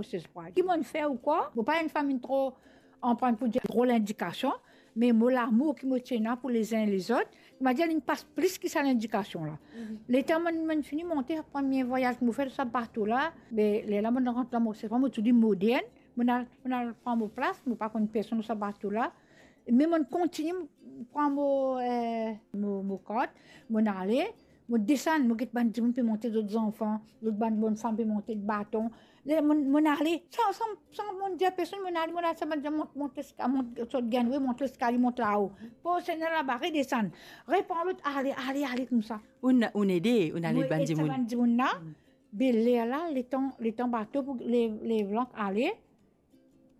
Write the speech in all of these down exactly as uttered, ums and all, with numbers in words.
Morisses Pride. Ki mo'nn fer ou kwa? Mo pa enn fami tro, anpran pou dir, tro lindikasion, me mo lamour ki mo ti ena pou lezin lezot, mo dir, li pas plis ki sa lindikasion la. Letan mo'nn, mo'nn fini monte, premie vwayaz mo fer sa bato la, be lerla mo'nn rant la, mo, se pa mo tou li modern, mo'nn al, mo'nn al pran mo plas, mo pa konn personn lor sa bato la. Me mo'nn kontigne pran mo, eh, mo, mo kart, mo'nn ale, mo desann, mo get bann dimoun pe monte zot zanfan, zot bann bonn fam pe monte baton. Le, mo'nn, mo'nn ale, san, san, san mo'nn dir personn, mo'nn ale, mo'nn al sa bann dimoun mont, mont leska-, mont, sot gangway, mont leskalie, mont lao. Pou Segner laba, redesann, repran lot, ale, ale, ale koumsa. Ou'nn, ou'nn ede, ou'nn ale ed bann dimoun. Mo ed sa bann dimoun la. Be lerla, letan, letan bato pou lev, lev lank ale,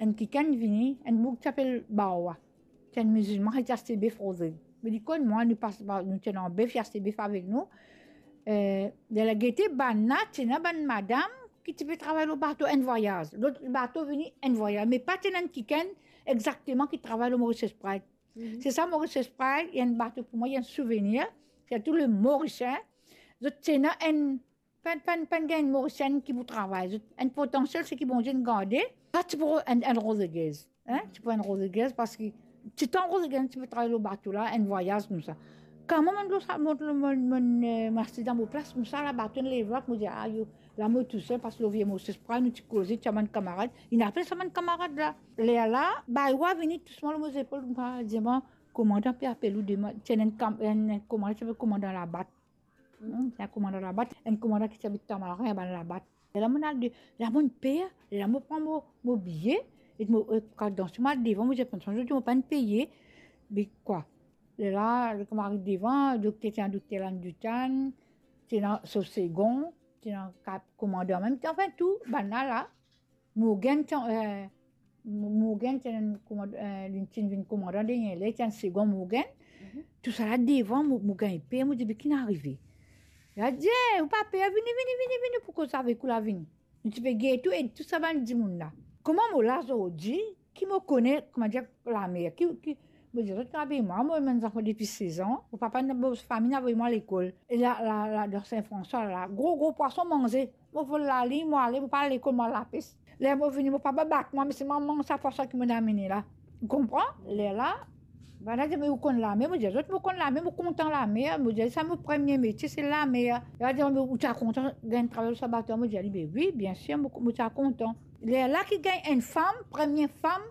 enn kikenn vini, enn boug ti apel Bawa. Ti enn mizilman, li ti aste bef Rodrig. Me li konn mwa, nou pas, nou ti ena bef, li aste bef avek nou. Eh, lerla gete, bann la, ti ena bann madam ki ti pe travay lor bato enn vwayaz. Lot bato vini enn vwayaz. Me pa ti ena enn kikenn exakteman ki travay lor Morisses Pride. Se sa, Morisses Pride, li enn bato pou mwa, li enn souvenir. Sirtou le Morisien, zot ti ena enn, pa, pa, pa'nn gagn enn Morisien ki pou travay. Zot, enn potansiel, seki Bondie inn garde. Sa ti pou enn, enn Rodriguez, hein? Ti pou enn Rodriguez, parski titan Rodriguez ti pe travay lor bato la, enn vwayaz koumsa. Kan mwa mo'nn lor sa, mo'nn, mo'nn, mo'nn, eh, mo aste dan mo plas koumsa, la bato inn lev lank, mo dir, ayo, la mo tousel, parski lor vie Morisses Pride, nou ti koze, ti bann kamarad. Inn apel sa bann kamarad la. Lerla, Bawa vini dousman lor mo zepol, koumsa, dir mwa, komandan pe apel ou demann, ti ena enn kam-, enn, enn komandan, ti apel komandan Labat. Hmm, ti ena komandan Labat, enn komandan ki ti abit Tamarin, bann Labat. Lerla mo'nn al de, la mo'nn per, lerla mo pran mo, mo biye, e mo, e, kat dan, mo al devan, mo dir, "Atansion, zot, mo pa'nn peye." Be kwa? Lerla, ler mo ariv devan, dokter, ti ena dokter Landutan, ti ena so segon, ti ena kat komandan mem, anfin tou, bann la la. Morgan ti, eh, Mo-, Morgan ti enn koumand-, eh, li ti vinn koumandan dernie ler, ti enn segon Morgan. Tousala devan, mo, mo gagn per, mo dir, "Be ki'nn arive?" Li dir, "Eh, ou pa per, vini, vini, vini, vini, pou koz avek ou la, vini." Nou ti pe gete tou, e tou sa bann dimoun la. Kouma mo la zordi, ki mo kone, koumadir, lamer, ki, ki, mo dir, zot kapav mwa, mo ena zanfan depi sez an, mo papa, mo fami inn avoy mwa lekol. E la, la, la, dan Sin Franswa, la, gro, gro pwason manze. Mo vol laliy, mo ale, mo pa al lekol, mo al lapes. Ler mo vini, mo papa bat mwa, me se mwa manz sa pwason ki mo'nn amene la. Ou konpran? Lerla, bann la dir, "Me ou konn lamer?" Mo dir zot, "Mo konn lamer, mo kontan lamer." Mo dir, "Sa mo premie metie, se lamer." Li dir, "Me ou ti a kontan gagn travay lor sa bato?" Mo dir li, "Be wi, biensir, mo, mo ti a kontan." Lerla ki gagn enn fam, premie fam,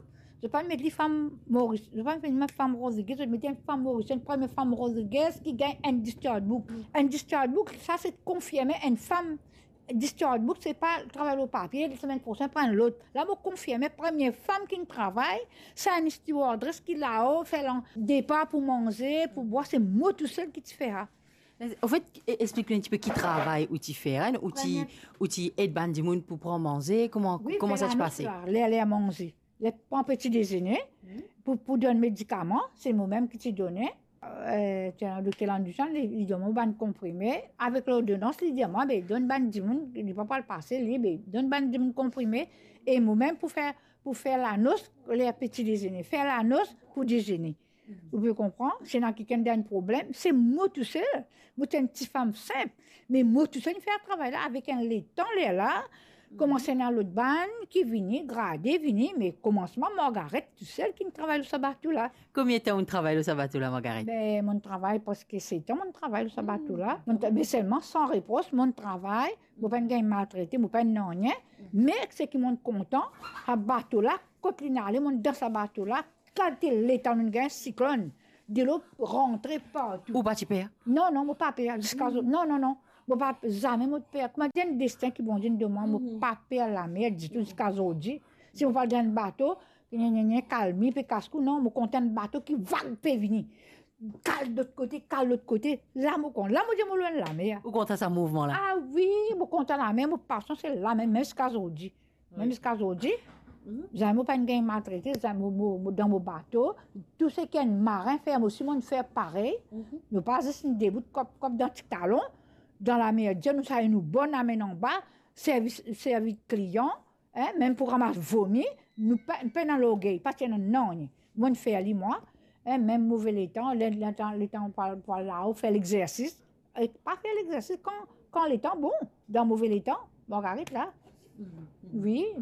zot pa met li fam Moris, zot pa met li fam Rodriguez, zot met enn fam Moris, enn premie fam Rodriguez ki gagn enn discharge book. Enn discharge book, sa se konfirme enn fam discharge book, se pa travay lor papie, semenn prosenn pran lot. La mo konfirme, premie fam ki'nn travay, sa enn stewardess ki lao, fer landepar pou manze, pou bwar, se mo tousel ki ti fer sa. Anfet, e-, explik nou enn tipe ki travay ou ti fer, hein, ou ti, ou ti ed bann dimoun pou pran manze, kouma, kouma sa ti pase? Ler, ler manze. Ler pran peti dezene, pou, pou donn medikaman, se mo mem ki ti done. Eh, ti ena dokter Landuchan, li, li donn mwa bann konprime. Avek lordonans, li dir mwa, "Be, donn bann dimoun, li pa pou al pase, li, be, donn bann dimoun konprime." E mo mem pou fer, pou fer lanos, ler peti dezene. Fer lanos pou dezene. Ou pe konpran? Si ena kikenn dan problem, se mo tousel. Mo ti enn tifam sinp, me mo tousel inn fer travay la avek enn letan lerla. Koumans ena lot bann ki vini, grade vini, me koumansman, Margaret tousel ki'nn travay lor sa bato la. Konbien tan ou'nn travay lor sa bato la, Margaret? Be, mo'nn travay preske set an, mo'nn travay lor sa bato la. Mo'nn tra-, me selman san repros, mo'nn travay, mo pa'nn gagn maltrete, mo pa'nn nanye. Me seki mo'nn kontan, sa bato la, kot li'nn ale, mo'nn dan sa bato la, kalite letan nou'nn gagn, siklonn, delo rantre partou. Ou pa ti per? Non, non, mo pa per, ziska zo-, non, non, non. Mo pa, zame mo per. Koumadir, enn destin ki Bondie donn mwa, mo pa per lamer ditou ziska zordi. Si mo pe al dan enn bato, nye, nye, nye, kalmi, pe kas kou, non, mo kontan enn bato ki vag pe vini. Kal lot kote, kal lot kote. La mo kontan, la mo dir mo lwin lamer. Ou kontan sa mouvman la? Ah wi, mo kontan lamer, mo pasion se lamer, mem ziska zordi. Mem ziska zordi, zame mo pa'nn gagn maltrete, zame mo, mo, mo dan mo bato, tou seki enn marin fer, mo osi mo'nn fer parey. Nou pa zis inn debout kop, kop dan ti talon, dan lamer, dir nou sa, nou bon, amenn anba, servi, servi klian, hein, mem pou ramas vomi, nou pa, pena lorgey, pa ti ena nanye. Mo'nn fer li mwa, hein, mem move letan, le-, letan, letan pou al, pou al lao, fer lexersis, e pa fer lexersis kan, kan letan bon, dan move letan, Margaret la. Wi,